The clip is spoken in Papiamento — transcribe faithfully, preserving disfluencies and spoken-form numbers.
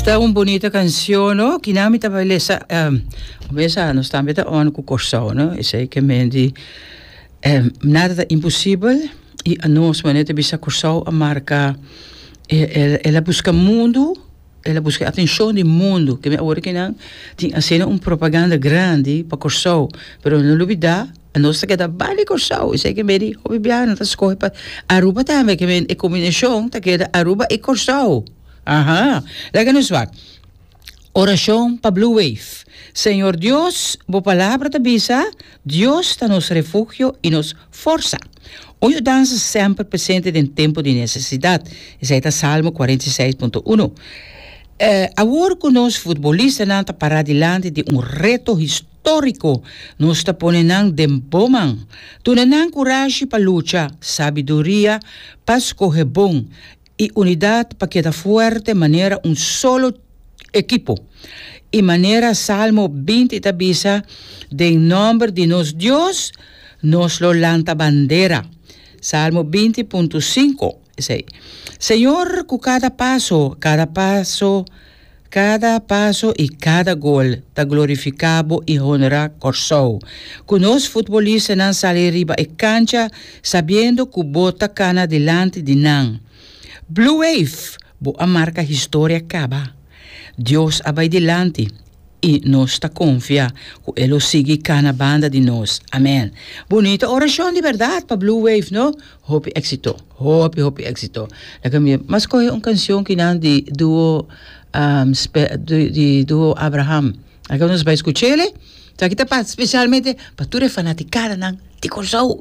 Ta un bunita kanshon, no? Ku mi ta lesa, um, mesa nos tambe ta on ku Kòrsou, no? Esei ke men di um, nada ta imposibel i anos manera ta bisa, Kòrsou a marka, el, el a buska mundu, el a buska atenshon di mundu, ke awor ku nan tin hasiendo un propaganda grandi pa Kòrsou, pero no lubidá, nos ta keda bali Kòrsou. Esei ke men di, hopi biaha nan ta skohe pa Aruba tambe, ke men e kombinashon ta keda Aruba i Kòrsou. Aha, laga nos wak. Orashon pa Blue Wave. Señor Dios, bo palabra ta bisa, Dios ta nos refugio i nos forsa. Un yudansa semper presente den tempu di nesesidat. Esei ta Salmo kuarenta i seis punto un. Eh, awor ku nos futbolistanan ta pará dilanti di un reto históriko, nos ta pone nan den bo man. Duna nan kurashi pa lucha, sabiduria pa skohe bon i unidat pa keda fuerte manera un solo ekipo. I manera Salmo binti ta bisa, den nòmber di nos Dios, nos lo lanta bandera. Salmo binti punto sinku. Esei. Señor, ku kada paso, kada paso, kada paso i kada gol ta glorifiká Bo i honra Kòrsou. Ku nos futbolistanan sali riba e kancha, sabiendo ku Bo ta kana dilanti di nan. Blue Wave, bo a marka historia kaba. Dios a bai dilanti i nos ta konfia ku E lo sigui kana banda di nos. Amèn. Bunita orashon di berdat pa Blue Wave, no? Hopi éksito. Hopi, hopi éksito. Laga mi mas skohe un kanshon ku nan di duo um, spe, di, di duo Abraham. Laga nos bai skuch'é. Aki ta pa, spesialmente pa tur fanatikadanan di Kòrsou.